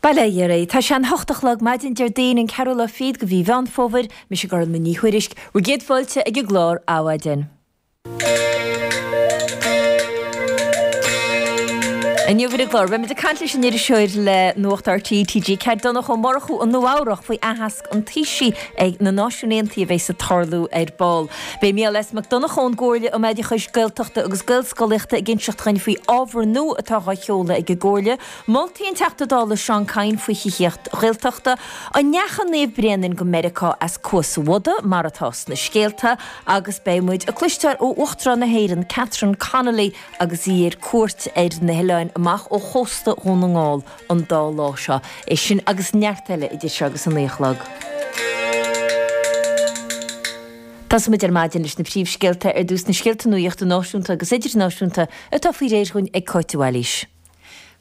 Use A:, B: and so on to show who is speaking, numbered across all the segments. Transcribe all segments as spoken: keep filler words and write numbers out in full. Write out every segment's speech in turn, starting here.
A: Bail ó Dhia oraibh. Tá sé an hocht a chlog maidin Déardaoin an ceathrú lá fichead de mhí Mheán Fómhair, mise Gormfhlaith Ní Thuairisg, bhur gcéad fáilte ag an gclár Adhmhaidin. Inniu ar an gclár, beimid ag caint leis an iriseoir le Nuacht RTÉ, TG Ceathair, Donncha Ó Murchú i Nua Eabhrach faoi aitheasc an Taoisigh ag na Náisiúin Aontaithe a bheas ag tarlú ar ball. Beidh Mícheál S. Mac Donncha ón gComhairle um Oideachais Gaeltachta agus Gaelscolaíochta ag inseacht dhuinn faoi ábhar nua atá á sheoladh ag an gComhairle, Moltaí an Teachta Dála Seán Kyne faoi thithíocht Ghaeltachta, an ndeachaigh Naomh Bréanainn go Meiriceá as Cuas an Bhodaigh, mar atá sna scéalta, agus beidh muid ag cloisteáil ó Uachtarán na hÉireann Catherine Connolly agus í ar cuairt ar na hoileáin amach ó chósta Dhún na nGall an dá lá seo. É sin agus neart eile idir seo agus a naoi a chlog. Tosóidh muid ar maidin leis na príomhscéalta ar dtús, na scéalta nuachta náisiúnta agus idirnáisiúnta atá faoi réir dhúinn ag Cáit de Bhailís.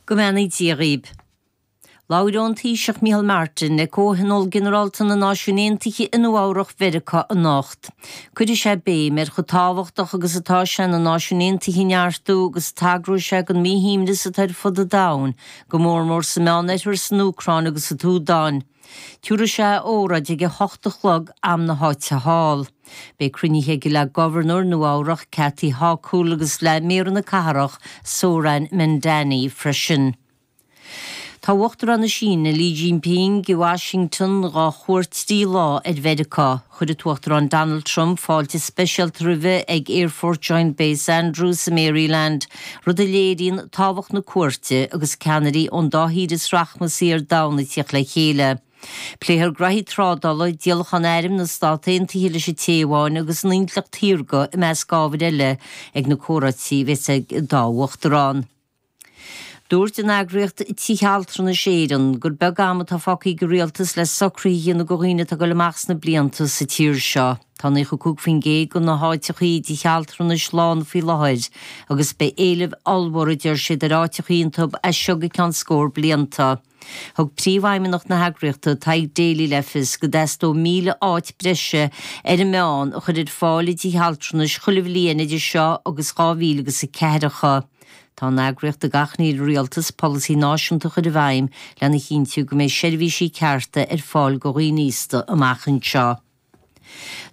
B: Go mbeannaí Dia dhaoib. Labhróidh an Taoiseach Micheál Martin le Comhthionól Ginearálta na Náisiún Aontaithe i Nua Eabhrach Mheiriceá anocht. Cuirfidh sé béim ar chomh tábhachtach agus atá sé na Náisiúin Aontaithe a neartú agus tagróidh sé don mhíshuaimhneas atá ar fud an domhain, go mór mór sa Meánoirthear, san Úcráin agus sa tSúdáin. Tabharfaidh sé a óráid ag a hocht a chlog am na háite thall. Beidh cruinnithe aige le Gobharnóir Nua Eabhrach Kathy Hochul agus le Méara na cathrach Zohran Mamdani freisin. Tá Uachtarán na Síne, Li Jinping, i Washington dhá chuairt trí lá ar Mheiriceá. Chuir an tUachtarán Donald Trump fáilte speisialta roimhe ag Aerfort Joint Base Andrews i Maryland, rud a léiríonn tábhacht na cuairte agus ceannairí ón dá thír is rachmasaí ar domhan ag tíocht le chéile. Pléifear graithí trádála, díolachán airm na Stát Aontaithe leis an Téaváin agus an intleacht shaorga i measc ábhair eile ag na comhráití a bheas ag an dá uachtarán. Dúirt an eagraíocht Tithe Altranais Éireann gur beag am atá fágtha ag an rialtas le socruithe a dhéanamh do dhaoine atá ag dul amach sna blianta sa tír seo. Tá naocha cúig faoin gcéad de na háiteachaí i dtithe altranais lán faoi láthair agus beidh éileamh ollmhór a deir siad ar áiteachaí iontu as seo go ceann scór blianta. Thug príomhfheidhmeannach na heagraíochta, Tadhg Daly le fios go dteastódh míle áit breise ar an meán a chur ar fáil i dtithe altranais chuile bhliain idir seo agus dhá mhíle agus a ceathracha. Tá an eagraíocht ag achainí ar an rialtas polasaí náisiúnta a chur i bhfeidhm lena chinntiú go mbeidh seirbhísí cearta ar fáil do dhaoine aosta amach anseo.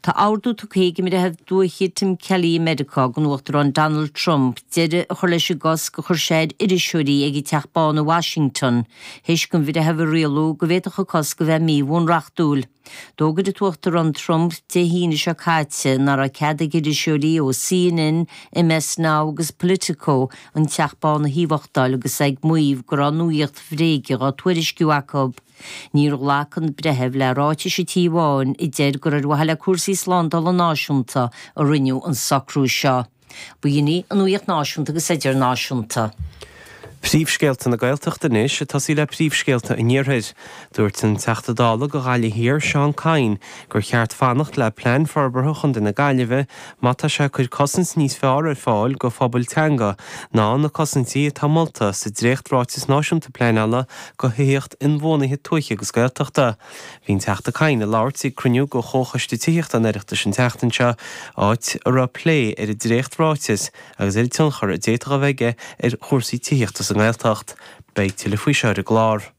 B: Tá ordú tugtha ag an mBreitheamh Dúiche Tim Kelly i Meiriceá don Uachtarán Donald Trump deireadh a chur leis an gcosc a chuir sé ar iriseoirí ag an Teach Bán i Washington théis don bhreitheamh a rialú go bhféadfadh an cosc a bheith míbhunreachtúil. D'fhógair an tUachtarán Trump Dé hAoine seo caite nach raibh cead ag iriseoirí ó CNN, MS Now agus Politico an Teach Bán a thaobhachtáil agus é ag maíomh go raibh nuaíocht bhréige dhá tuairisciú acu. Níor ghlac an breitheamh le ráitis an Tí Bháin a deir gur ar mhaithe le cúrsaí slándála náisiúnta a rinneadh an socrú seo. B'in í an nuaíocht náisiúnta agus idirnáisiúnta.
C: Príomhscéalta na Gaeltachta anois, ag tosaí le príomhscéalta an Iarthair. Dúirt an Teachta Dála do Ghaillimh Thiar, Seán Kyne, gur cheart fanacht le Plean Forbartha Chontae na Gaillimhe má tá sé ag cur cosaint níos fearr ar fáil do phobail teanga ná na cosaintí atá molta sa dréacht-Ráiteas Náisiúnta Pleanála do Thithíocht Inbhuanaithe Tuaithe agus Gaeltachta. Bhí an Teachta Kyne ag labhairt ag cruinniú de Chomhchoiste Tithíochta an Oireachtais an tseachtain seo, áit a raibh plé ar an dréacht-ráiteas agus ar an tionchar a d'fhéadfadh a bheith aige ar chúrsaí tithíochta sa nGaeltacht. Beidh tuilleadh faoi seo ar an gclár.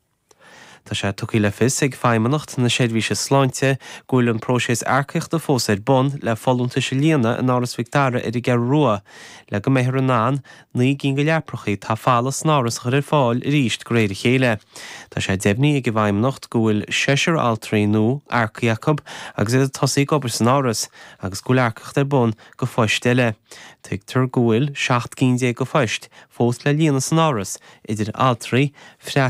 C: Tá sé tugtha le fios ag Feidhmeannacht na Seirbhíse Sláinte go bhfuil an próiseas earcaíochta fós ar bun le folúntais a líonadh in Áras Mhic Dara ar an gCeathrú Rua le go mbeifear in ann naoi gcinn de leaprachaí atá folamh san áras a chur ar fáil arís de réir a chéile. Tá sé deimhnithe ag an bhFeidhmeannacht go bhfuil seisear altraí nua earcaithe acu agus iad ag tosaí ag obair san áras agus go bhfuil earcaíocht ar bun do phoist eile. Tuigtear go bhfuil seacht gcinn déag de phoist fós le líonadh san áras, idir altraí, freastalaithe,